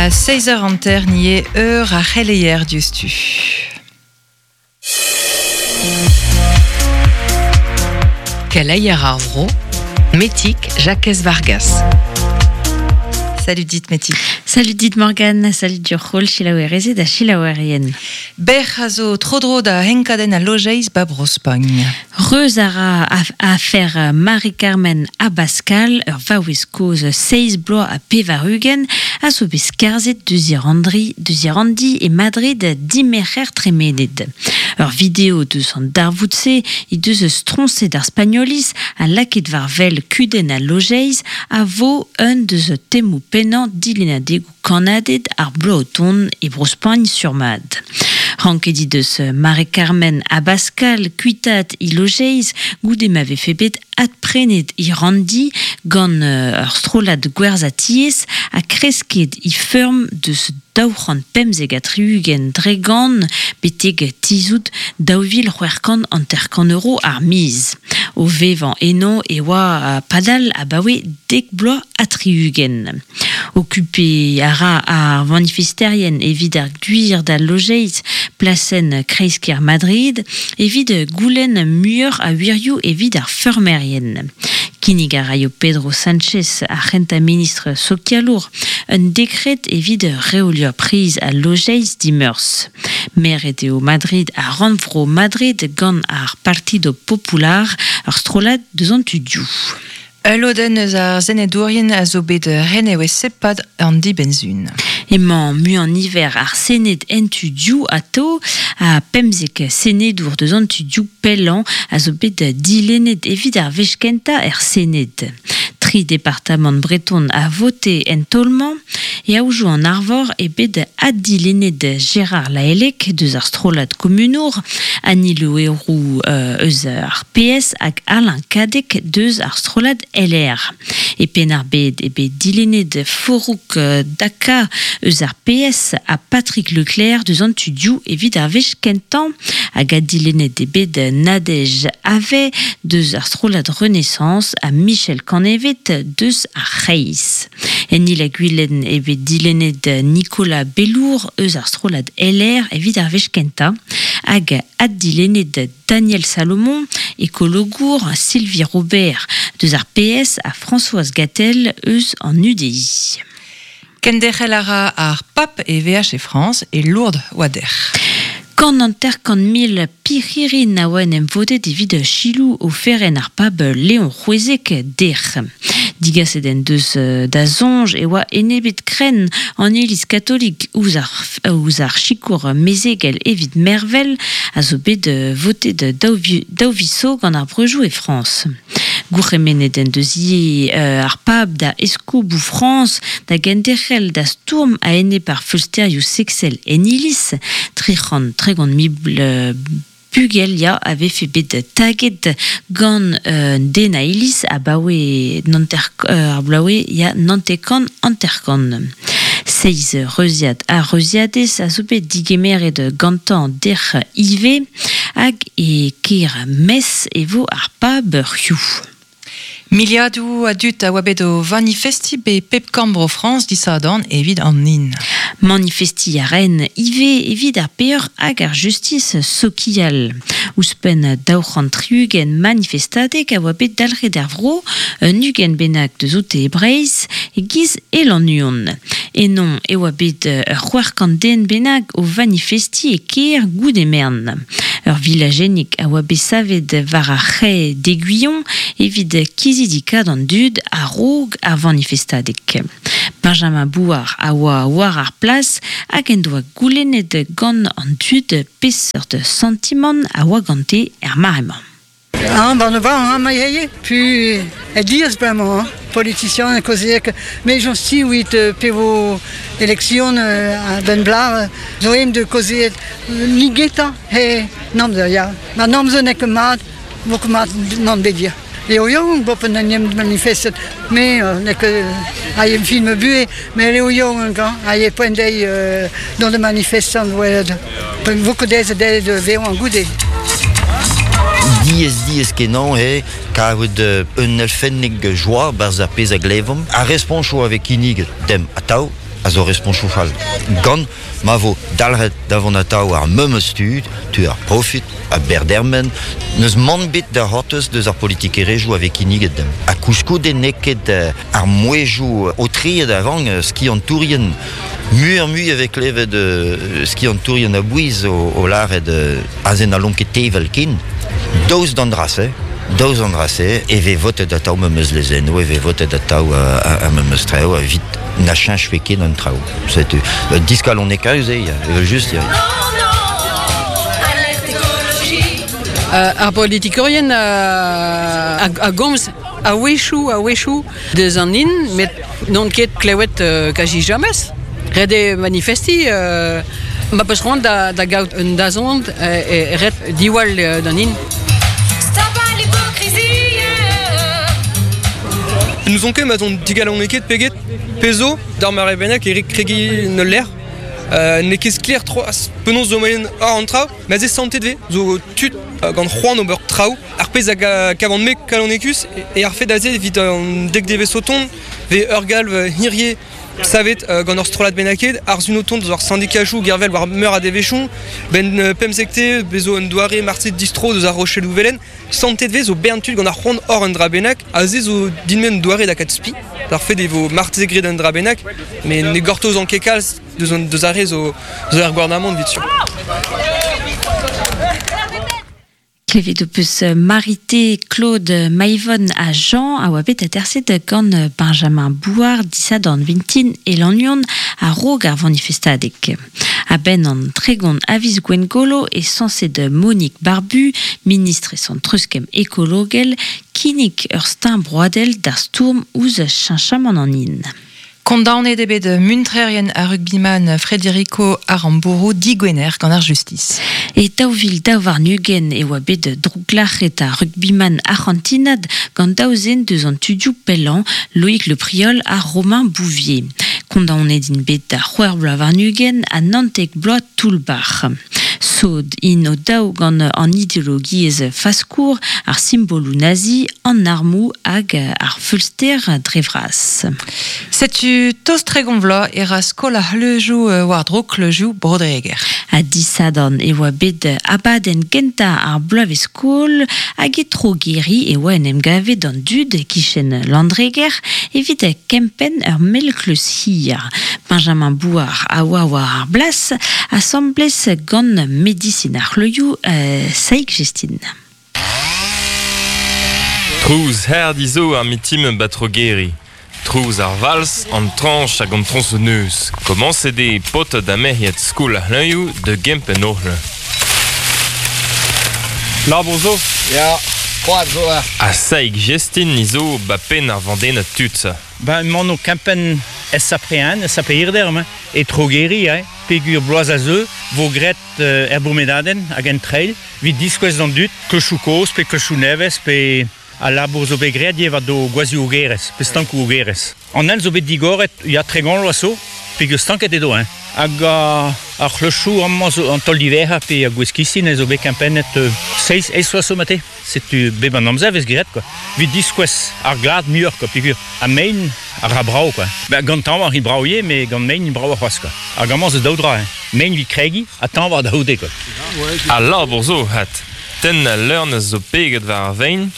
A 6 eur hanter ni eo eur ar c'heleier diouzhtu. Keleier ar vro, Metig Jakez Vargas. Salut dit Metig. Salut dit Morgane, salut dioc'h-holl selaouerezed ha selaouerien. Bec'h a zo tro-dro da enkadenn al lojeiz ba Bro-Spagn. Reuz a ra afer Mari-Carmen Abascal, ur vaouez kozh seizh bloaz ha pevar-ugent, a zo bet skarzhet deus Irandi e Madrid dimerc'her tremenet. Ur video deus an darvoud-se he deus stroñset ar Spagnoliz ha lakaet war wel kudenn al lojeiz a vo un deus temoù pennañ dilennadegoù kannaded ar bloaz o tont e Bro-Spagn sur-mat. Ranket he deus Mari-Carmen Abascal kuitaat he lojeiz goude ma vefe bet adprenet he ranndi gant ur strollad gwerzhañ tiez ha kresket he feurm deus 275 betek tizhout 2650 euro ar miz. O vevañ eno e oa padal abaoe dek bloaz ha tri-ugent. Okupiñ a ra ar vanifesterien evit ar gwir d'al lojeiz plasenn kreiz-kêr Madrid evit goulenn muioc'h a wirioù evit ar feurmerien. Kinnig a raio Pedro Sánchez, ar c'hentañ ministr sokialour, un dekred evit reoliañ priz al lojeiz dimeurzh. Meret eo Madrid ha rannvro Madrid gant ar Partido Popular, ur strollad deus an tu dioù. Ul lodenn eus ar senedourien a zo bet renevezet e-pad an dibenn-sizhun. Emañ muiañ-niver ar Sened en tu dioù atao, ha 15 senedour deus an tu dioù pellañ a zo bet dilennet evit ar wech kentañ er Sened. Tri departamant breton a vote en taol-mañ. E Aodoù-an-Arvor eo bet addilennet Gérard Lahellec deus ar strollad komunour, Annie Le Houerou eus ar PS hag Alain Cadec deus ar strollad LR. E Penn-ar-Bed eo bet dilennet Forouk Daka eus ar PS ha Patrick Leclerc deus an tu-dioù evit ar wech kentañ. Hag addilennet eo bet Nadège Havet deus ar strollad Renaissance ha Michel Canevet deus ar C'hreiz. En Il-ha-Gwilen eo bet dilennet Nicolas Bellour eus ar strollad LR evit ar wech kentañ hag addilennet Daniel Salomon, ekologour, Sylvie Robert deus ar PS ha Françoise Gatel eus an UDI. Kenderc'hel a ra ar Pab e veaj e Frañs e Lourdes oa dec'h. 150 mil pirc'hirin a oa en em vodet evit selaou oferenn ar pab Leon C'hwezek dec'h. Digaset en deus da soñj e oa enebet krenn an Iliz katolik ouzh ar ouzh ar sikour mezegel evit mervel a zo bet votet daou viz zo gant ar breujoù e Frañs. Gourc'hemennet en deus ivez ar pab da eskoboù Frañs da genderc'hel da stourm a-enep ar feulsterioù seksel en iliz. 330 mil bugel ya a vefe bet taget gant un den a iliz abaoe ar bloavezh ya 99 50. Seizh reuziad ha reuziadez a zo bet digemeret gantañ dec'h ivez hag e kêr Metz e vo ar pab hiziv. Miliadoù a dud a oa bet o vanifestiñ be pep korn-bro Frañs disadorn evit an hin. Manifestiñ a raent ivez evit ar peoc'h hag ar justis sokial. Ouzhpenn 260 manifestadeg a oa bet dalc'het er vro, un 20 bennak deus oute e Breizh, e-giz e Lannuon. Eno e oa bet ur 600 den bennak o vanifestiñ e kêr goude merenn. Ur vilajennig a oa bet savet war ar c'hae d'Aiguillon evit kizidikaat an dud a-raok ar vanifestadeg. Benjamin Bouard a oa war ar plas hag en doa goulennet gant an dud peseurt santimant a oa gante er mare-mañ. Ah, ben va, hein, ma eo, puis e diaz bremañ, hein, politician kaozeek, me j'en si wit pe vo election a-benn blar, zo em de kaozeet nigetañ he namzer, ya. Ma namzer n'eo ket mat, vo ket mat nann bet ya. Eo yaouank bopen en em manifestet, me n'eo ket a em film buhez, met eo yaouank, hein, a e poent dezhi dont da manifestan welet vo ket aes dezhe da vevañ goude. Diaes diaes kenañ eo karout un elfennig joa 'barzh ar pezh a glevomp. Ar responchoù a vez kinniget demp atav. a zo responchou fall. Gant ma vo dalc'het da vont atav ar memes tud, tu ar profit, a berdermen, neus mann bet da c'hortoz deus ar politikerezhioù a vez kinniget demp. Ha koulskoude n'eo ket ar mouezhioù aotreet a rank skiantourien muioc'h-mui e vez klevet skiantourien a-bouez o lâret aze n'hallomp ket tevel ken. Daoust d'an dra-se, daoust d'an dra-se e vez votet atav memes lezennoù, e vez votet atav ar memes traoù evit na cheñchfe ket an traoù. Setu diskalonekaus eo, evel-just. Ya. Ar politikourien a gomz a-wechoù, a-wechoù deus an hin, met n'on ket klevet kazi james. Ret eo manifestiñ. Ma peus c'hoant da gaout un dazont, e ret diwall d'an hin. N'ouzon ket ma 'z on digalonekaet pe get, pezh zo, d'ar mare bennak e rit kregiñ en ul lec'h. N'eo ket sklaer c'hoazh penaos zo moaien àr an traoù, met se santet 'vez zo tud gant c'hoant ober traoù. Ar pezh a gavan-me kalonekus eo ar fed aze evit an dek devezh o tont 'vez ur galv hirie savet gant ur strollad bennaket, ar sun o tont eus ar sindikajoù gervel war meur a devezhioù, 'benn pemzekte 'vezo un doare marse distro deus ar Rochelloù Velen. Santet 'vez zo bern tud gant ar c'hoant hor un dra bennak, aze zo din-me un doare da kat spi. Ar fed e vo marteze graet un dra bennak, met ne gortozan ket kalz deus ar re zo er gouarnamant evit sur. Klevet ho peus Marité, Claude, Maivon ha Jean a oa bet aterset gant Benjamin Bouard disadorn vintin e Lannuon a-raok ar vanifestadeg. A-benn an 30 a viz Gwengolo e sañset Monique Barbu, ministrez an treuzkemm ekologel, kinnig ur steuñv broadel d'ar stourm ouzh cheñchamant an hin. Kondaonet eo bet muntrerien ar rugbyman Federico Aramburu digwener gant ar justis. E 2022 e oa bet drouglac'het ar rugbyman arc'hantinat gant daou zen deus an tudioù pellañ, Loïc Le Priol ha Romain Bouvier. Kondaonet int bet da c'hwec'h bloaz warn-ugent ha 19 bloaz toull-bac'h. Sod int o-daou gant an ideologiezh faskour, ar simboloù nazi, an armoù hag ar feulster dre vras. Setu tost 30 vloaz e ra skol ar c'hleuzioù war-dro kleuzioù Bro-Dreger. Ha disadorn e oa bet abadenn gentañ ar bloavezh-skol hag e Trogeri e oa en em gavet an dud e-kichen Landreger evit kempenn ur mell-kleuz hir. Benjamin Bouard a oa war ar blas asambles gant medisin ar c'hleuzioù Saig Jestin. Trouz hardi zo ar mitim 'ba Trogeri. Trouz ar vals, an trañch hag an troñsonneuz. Komañset eo paotred ha merc'hed skol ar c'hleñioù da gempenn o c'hleñv. Labour zo? Ya, koad zo ha. Ha Saig Jestin ni zo 'ba penn ar vandennad tud-se. Ben emaon o kempenn SAP1, SAP Hirderm, e Trogeri, hein, peogwir bloaz a zeu 'vo graet er bourmenadenn hag en trail evit diskouez d'an dud klochoù kozh pe klochoù nevez pe al labour zo bet graet ivez war do gwazhioù-ogerezh pe stankoù-ogerezh. An hent zo bet digoret ya 30 vloaz zo peogwir stanket edo hein. Hag ar c'hlochoù amañ zo an taol diwezhañ pe ar gwez-kistin zo bet kempennet seizh eizh vloaz zo mate. Setu bep an amzer 'vez graet quoi. Evit diskouez ar glad muioc'h quoi peogwir ha mein a ra brav quoi. Ben gant tañva int brav ivez met gant mein int bravoc'h c'hoazh quoi. Hag amañ zo daou dra hein. Mein evit kregiñ ha tañva da c'houde quoi. Al labour zo 'vat. Tenn al leurnez zo peget war ar vein,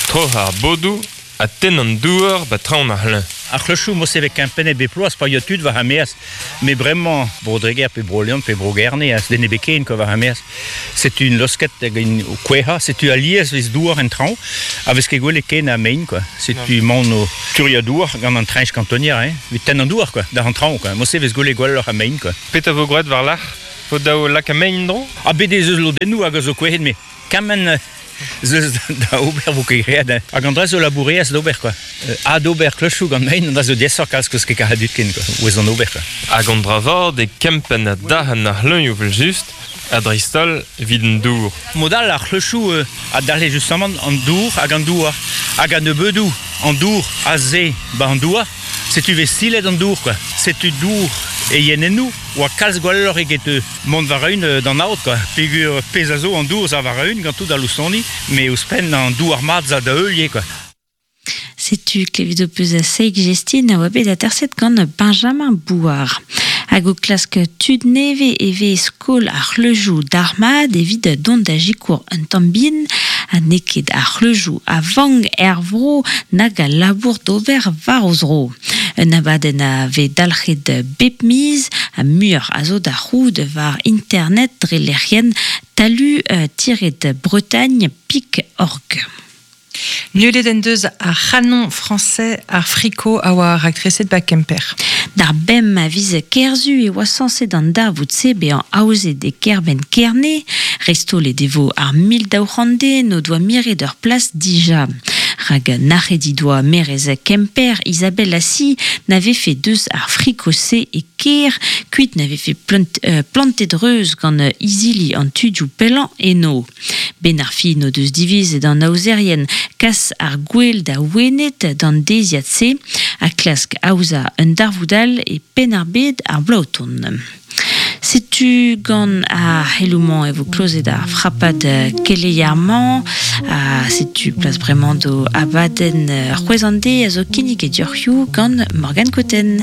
troc'hañ ar bodoù ha tenn an douar 'ba traoñ ar c'hleñv. Ar c'hlochoù mod-se 'vez kempennet bep bloaz pa ya tud war ar maez. Met bremañ, Bro-Dreger pe Bro-Leon pe Bro-Gerne a den ebet ken quoi war ar maez. Setu int losket hag int o kouezhañ. Setu alies 'vez douar en traoñ ha 'vez ket gwelet ken a mein quoi. Setu emaon o turiañ douar gant an treñch kantonier hein, evit tenn an douar quoi, d'ar an traoñ quoi. Mod-se 'vez gwelet gwelloc'h a mein quoi. Petra 'vo graet war-lerc'h? 'Vo dav lakaat mein en-dro? Ha bet ez eus lodennoù hag a zo kouezhet met kement ez eus da ober 'vo ket graet hein. Hag an dra zo labourerezh d'ober quoi. Adober klochoù gant mein, an dra zo diaesoc'h kalz 'keus ket karet dud ken quoi, ouez an ober quoi. Hag an dra vat eo kempenn ha dac'henn ar c'hleñv evel-just, ha dreist-holl evit an dour. Mod all ar c'hlochoù a dalc'he justamant an dour hag an douar. Hag a-nebeudoù an dour aze 'ba an douar, setu 'vez silet an dour quoi. Setu dour e yenennoù 'oa kalz gwelloc'h eget mont war-eeun d'an aod quoi. Peogwir pezh a zo an dour 'za war-eeun gant tout al loustoni, met ouzhpenn an douar mat 'za da heul ivez quoi. Setu klevet ho peus a seik jestin a oa bet aterset gant Benjamin Bouard. Hag o klask tud neve e vez skol ar c'hleujou d'armad evit dont da jikour un tambin a neket ar c'hleujou a vang er vro nag a labour d'ober war o zro. Un abadenn a vez dalc'het bep miz a muioc'h a zo da c'houd war internet dre lec'hienn talu-bretagne.org. Nullet en deus ar c'hanon français ar friko a oa raktreset ba Kemper. D'ar bem a viz kerzu e oa sañset an darvoud-se bezañ aozet e kêrbenn Kerne. Restole devo ar 1200 den o doa miret ur plas dija. Rak nac'het he doa maerez Kemper Isabelle Assy na vefe deus ar friko-se e kêr, kuit na vefe plantet reuz gant izili an tudioù pellañ eno. Ben ar fin o deus divizet an aozerien kas ar gwel da Wened d'an deiziad-se ha klask aozañ un darvoud all e Penn-ar-Bed ar bloaz o tont. Setu gant ar c'heloù-mañ e vo klozet ar frapad keleier-mañ ha setu plas bremañ d'o abadenn C'hwezh an deiz a zo kinniget deoc'h gant Morgane Cotten.